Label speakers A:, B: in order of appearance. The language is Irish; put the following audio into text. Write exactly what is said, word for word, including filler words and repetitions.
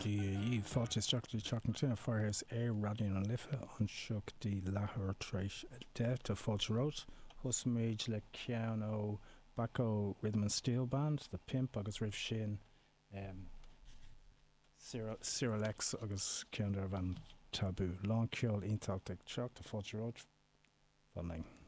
A: Dia dhaoibh, fáilte isteach go dtí Teach na Tine Firehouse ar Raidió na Life anseo go dtí leathuair tar éis a deich. Tá fáilte romhat. Thosaigh le ceann ó Bacco Rhythm and Steel Band, The Pimp agus roimh sin um, Cyril X agus ceann darbh ainm Taboo. Lán ceol iontach ag teacht, tá fáilte romhat. Fan linn.